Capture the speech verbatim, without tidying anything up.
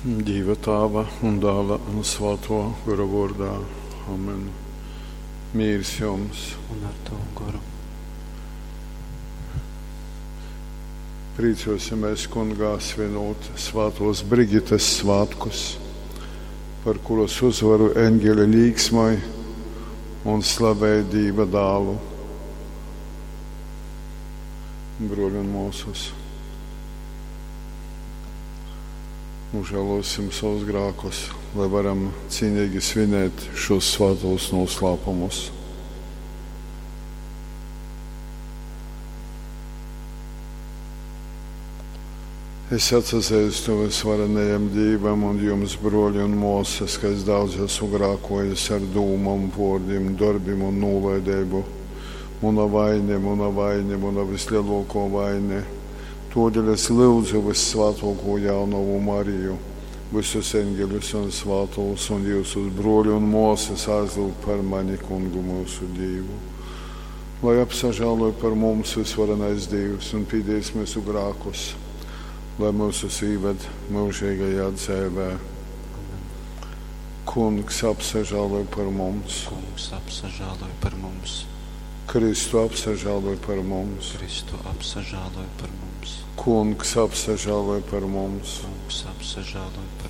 Dīva Tāva un Dāla un Svātō Gora vōrdā. Amen. Mīrs jums! Un ar tavu goru. Prīcōsimies Kungā svinūt Svātōs Brigites svātkus, par kuras uzvaru eņgeli līksmoj un slavej Dīva dālu. Bruoļi un muosys, nožēlosim savus grēkus, lai varam cīnīgi svinēt šos svētos noslēpumus. Es atsazīstu visvarenajam Dievam un jums, broļi un māsas, ka es daudz esmu grēkojis ar dūmām, vārdiem, darbiem un nolaidību. Mana vaine, mana vaine, mana vislielākā vaine. Todēļ es lūdzu vissvētāko jaunavu Mariju, visus eņģeļus un svētos un jūsus broļu un māsas aizlūgt par mani kungu mūsu Dievu. Lai apsažāloj par mums visvarenais Dievs un pīdīs mūsu grēkus, lai mūsus īved mūžīgajā dzīvē. Kungs apsažāloj par mums. Kungs apsažāloj par mums. Kristu apsažāloj par mums. Kristu apsažāloj par mums. Kungs apsažāloj par mums. Kungs apsažāloj par